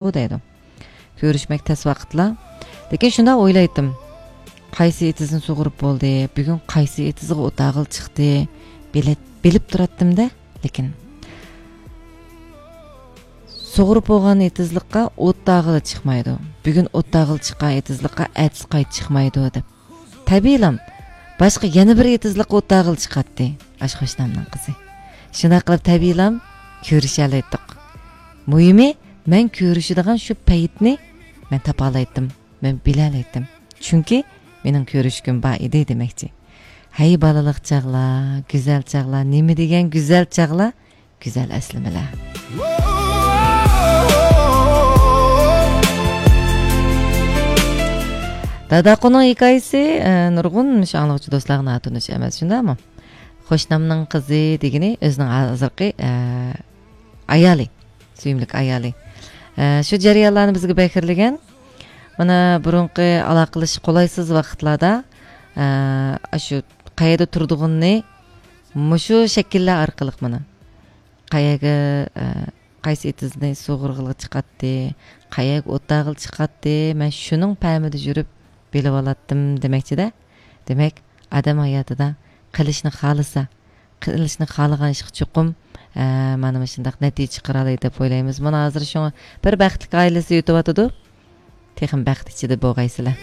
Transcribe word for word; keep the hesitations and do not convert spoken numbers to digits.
دەيدۇ. كۆرۈشمەك تەس ۋاقىتلا. لېكىن شۇنداق ئويلايتتىم. قايسى ئېتىزنى سۇغۇرۇپ بولدى؟ بۈگۈن قايسى ئېتىزغا ئوتاغىل چىقتى؟ بىلىپ، بىلىپ تۇراتتىم-دە، لېكىن. سۇغۇرۇپ بولغان ئېتىزلىققا ئوتاغىل چىقمايدۇ. بۈگۈن ئوتاغىل چىققان ئېتىزلىققا ئەتىسى قايتا چىقمايدۇ، دەپ. تەبىئىيلام، باشقا يەنە بىر ئېتىزلىققا ئوتاغىل چىقاتتى. ئاشۇ قوشنامنىڭ قىزى. شۇنداق قىلىپ تەبىئىيلام كۆرۈشەلەيتتۇق. مۇھىمى، مەن كۆرۈشىدىغان شۇ پەيتنى مەن تاپالايتتىم، مەن بىلەلەيتتىم. چۈنكى مېنىڭ كۆرۈشكۈم بار ئىدى دېمەكچى. ھەي بالىلىق چاغلار، گۈزەل چاغلار، نېمە دېگەن گۈزەل چاغلار، گۈزەل ئەسلىمىلەر. داداقۇنىڭ ھېكايىسى، ئە، نۇرغۇن مۇشۇ ئاڭلىغۇچى دوستلارغا ناتونۇش ئەمەس، شۇنداقمۇ؟ قوشنامنىڭ قىزى دېگىنى ئۆزىنىڭ ھازىرقى، ئە، ئايالى، سۆيۈملۈك ئايالى. ئە، شۇ جەريانلارنى بىزگە بەكرىلىگەن. مانا بۇرۇنقى ئالاقىلىشىش قولايسىز ۋاقىتلاردا، ئە، ئاشۇ قەيەردە تۇرىدىغىنىنى مۇشۇ شەكىللەر ئارقىلىق مانا قەيەرگە، ئە، قايسى ئېتىزنى سۇغۇرغىلى چىقاتتى، قەيەرگە ئوتاغىلى چىقاتتى، مەن شۇنىڭ پەمىدە يۈرۈپ بىلىۋالاتتىم دېمەكچىدە. دېمەك، ئادەم ھاياتىدا قىلىشنى خالىسا، قىلىشنى خالىغان ئىشقا چوقۇم، ئە، مانا مۇشۇنداق نەتىجە چىقىرالايدۇ دەپ ئويلايمىز. مانا ھازىر شۇڭا بىر بەختلىك ئائىلىسى ئۆتۈۋاتىدۇ. تېخىمۇ بەخت ئىچىدە بولغايسىلەر.